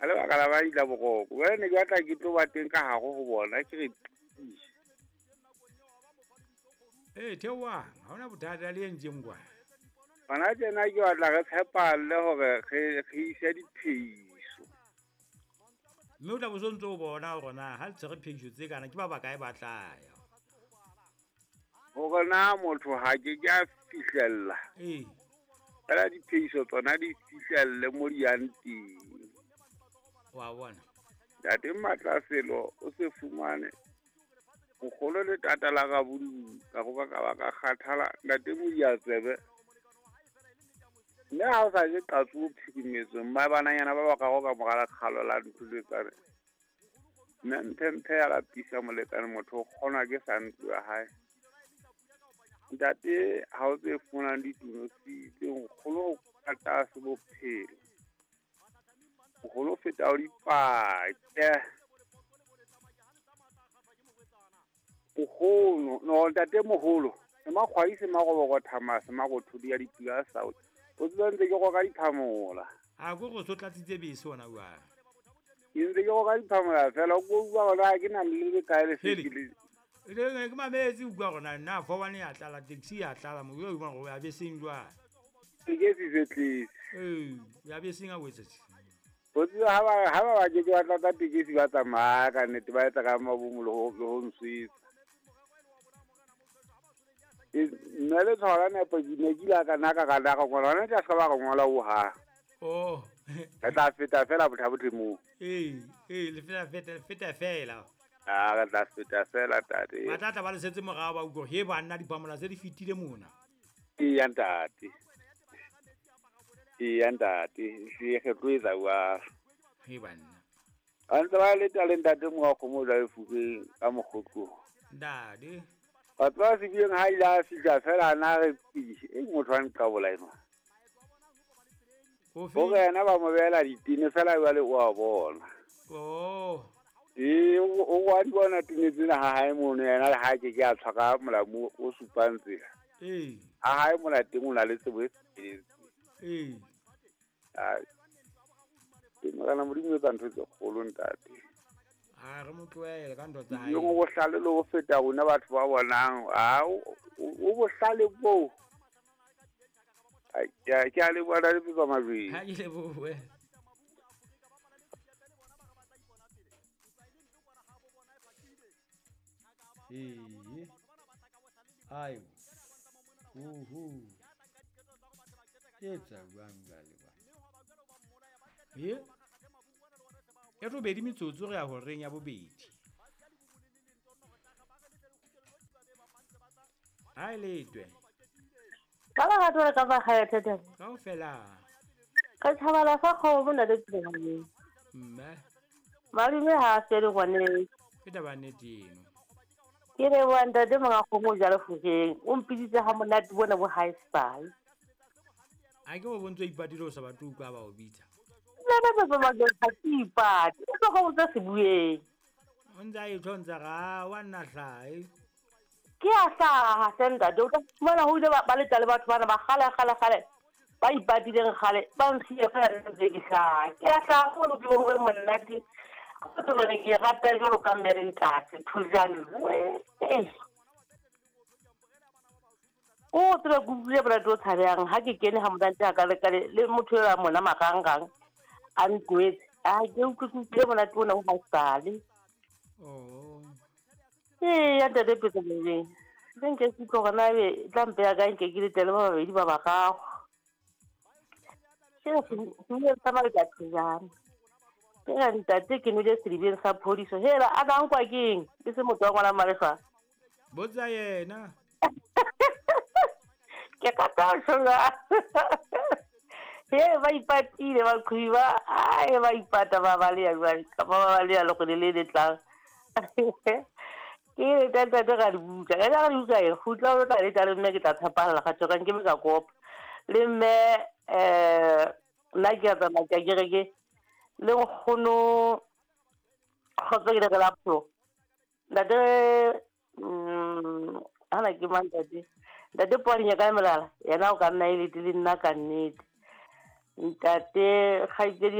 Ka lebaka la ba ila boroko. Jwale ne ke batla ke tlo ba teng ka hare ho bona ke re Ee, theohang, ha hona bothata le entseng kwana. Hona tjena ke batla re tshepalle hore re ise diphehiso. Mme o tla bo so ntso o bona hore na ha le tshwere phehiso tse kana ke ba bakae ba tla ya. Hore na motho ha ke ke a fihlella. Ee. Fela diphehiso tsona di fihlelle mo di yang teng. Wa bona. Ntate Matlaselo o se fumane mokgolo le tata la Rabodudu ka go ka ba ka kgathala ntate Modiatsebe. Mme ha o sa je qatso o phirimetswe mma bananyana ba bararo ka mora lekgalo la ntlo le tsane. Mme mphe ya lapisa molekane motho o kgonwa ke sa ntlo ya hae. Ntate ha o tse fumanang ditunositse nkgono o ka tlase bophelo. Nkgono o feta o dipake. Nkgono, no ntate moholo, se makgwai se maroboko thama se marothodi ya dipula sa o. O tseba ntse ke roka diphamola. A ko go so tlatsitse bese ona jwang? Ke ntse ke roka diphamola fela o ko utlwa hore ha ke na le le kae le se ke le. Le ke mametse utlwa hore na na 41 ya tlala taxi ya tlala mo yo bona hore ya beseng jwang. Tekesi se tletse. Ee, ya beseng a o etsa. O tseba ha ba ke ke ba tlatsa tekesi ba tsamaya ka nnete ba etsa ka mabomo le ho nswetsa. Nna le tshwara nepo ke ne ke ile ka nna ka ka ka ngola hona tla se ba re ngola o ha. Oh. Re tla feta fela botha moo. Ee, ee, le feta fela. Ah, re tla feta fela tate. Ba tla tla ba le setse morao ba utlwa he banna diphamola tse di fetile mona. Ee ntate. Ee ntate, se re tlo etsa wa. He banna. A ntse ba le tla le ntate mo wa kgomo la lefubeng ka mokgotlo. Ntate. Batho ba sebileng ha ile a fihla fela a na re pidise e motho a nqabola enwa. Hore yena ba mo behela ditene fela jwale o a bona. Oh. Ee, o wa di bona tene tsena ha hae mono yena le ha ke ke a tshwara molamu o supang tsela. Ee. Ha hae mona teng o na le tsebo e felletseng. Ee. Ke morena Modimo o etsa ntho tse kgolo ntate. A re mo tlohele ka ntho tsa hae. Yo bohlale le ho feta rona batho ba bonang. A o bohlale bo. Ke a leboha le tsa majweng. Ha ke lebohe. Ee. Ayo. Uhu. Ke tsa jwang jwale ba. Ye. E robedi metsotso re ya horeng ya bobedi. Ha e letwe. Ka ba ratwa ka ba kgaya thata. Kaofela. Ka tshabala fa kgomo nna le tsene. Mme. Malome ha a fele gone. Ke taba nnete eno. Ke re wa ntate monga kgomo jalo fokeng. O mpiditse ha monate bona bo high style. A ke o bontse ipatile o sa batle utlwa ba o bitsa. Nna ba ba ba ipate. O tlo go tsa se bueng. O ntse a ithontsa ga wa nna hlae. Ke a hlaha hle ntate. O tla fumana ho ile ba letla le batho bana ba kgale kgale kgale. Ba ipatileng kgale ba nsiye fela ntse ke hlaha. Ke a hlaha go lo bo monate. Go tlo re ke rata jalo ka mmere ntate thujane. O tsebe ke utlwile monate o tshabehang ha ke kene ha monate ha ka le motho eo a mona marangrang a nkwetse. A ke utlwile monate ona o haesale. Oh. Ee, ya ntate Petso Mojeng. Le nke ke utlwe hore na ebe tla mpeya kae nke ke letele ba babedi ba bararo. Ke re tsamaya ka thujana. Ke re ntate ke nwele sedibeng sa phodiso. Hela a ka nkwa keng? Ke se motho wa ngwana Malefa. Botsa yena. Ke ka tla He ba ipatile ba qhiba ai ba ipata ba baleya jwale ka ba baleya le go le le tlang. Ke re tata ga di buka. Ga di buka e khutla o tla le tla le mme ke tla tshepalla ga tsoka nke me ka kopa. Le mme nna ke a tsamaya ke kereke le nkgono kgotsa ke le la pro. Ntate ana ke mang ntate. Ntate Poadinya ka melala yena o ka nna e le nna ka nnete. Ntate kgaitsedi ya